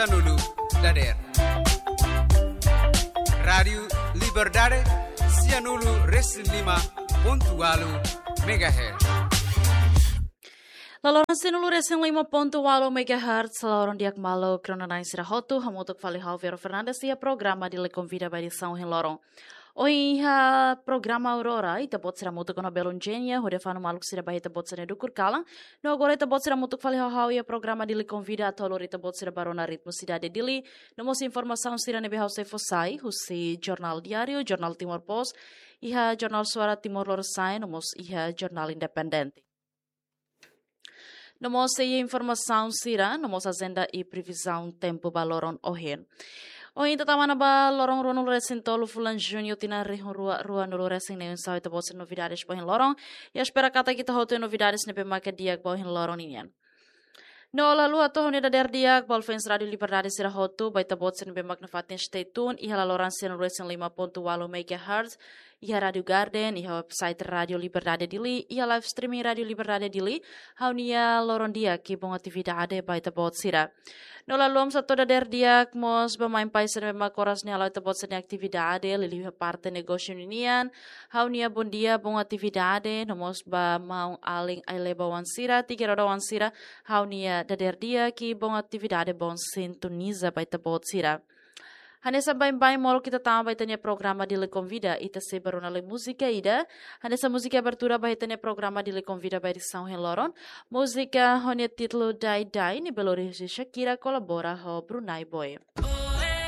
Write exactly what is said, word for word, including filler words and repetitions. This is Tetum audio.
Sianulu dader. Rádiu Liberdade, sianulu resin lima pontu ualu megahertz. Laloran sianulu resin lima pontu ualu megahertz, laloran di'ak maluk rona-na'in sira hotu, hamutuk fali ha'u Vero Fernandes iha programa Dili Konvida ba edisaun ohin loron. Ohin iha programa Aurora, ita-boot sira hamutuk ona belun Jenia, hodi fanu maluk sira ba ita-boot sira-nia dukur kalan. No agora ita-boot sira hamutuk fali ho ha'u iha programa Dili Konvida atu lori ita-boot sira ba rona ritmu sidade Dili. No mós informasaun sira ne'ebé ha'u sei fó sai, husi Jornál Diáriu, Jornál Timor Post, iha Jornál Suara Timor Lorosa'e, no mós iha Jornál Independente. No mós sei informasaun sira, no mós ajenda i previzaun tempu ba loron ohin. Ohin ita tama ona ba loron ruanulu resin tolu fulan Juñu tinan rihun rua ruanulu resin neen, oinsá ita-boot sira-nia novidades ba ohin loron. I espera katak ita hotu iha novidades ne'ebé maka di'ak ba ohin loron nian. No lalu atu ha'u-nia dader di'ak ba fans Rádiu Liberdade sira hotu, ba ita-boot sira ne'ebé mak nafatin stay tune iha laloran sianulu resin lima pontu ualu megahertz, iha Rádiu Garden, iha website Rádiu Liberdade Dili, iha live streaming Rádiu Liberdade Dili, ha'u-nia loron di'ak i boa atividade ba ita-boot sira. No lalu ha'u mós hato'o dader di'ak mós ba mãe pai sira ne'ebé mak oras ne'e hala'o ita-boot sira-nia atividade, liuliu iha parte negósiu ninian, ha'u-nia bondia, boa atividade, no mós ba maun-alin ai-leba oan sira, tiga roda oan sira, ha'u-nia dader di'ak i boa atividade, boa sintoniza ba ita-boot sira. Hanesan baibain molok ita tama ba ita-nia programa Dili Konvida, ita sei ba rona lai múzika ida. Hanesan múzika abertura ba ita-nia programa Dili Konvida ba edisaun ohin loron. Múzika ho nia títulu Dai Dai, ne'ebé lori husi Shakira kolabora ho Brunai Boy.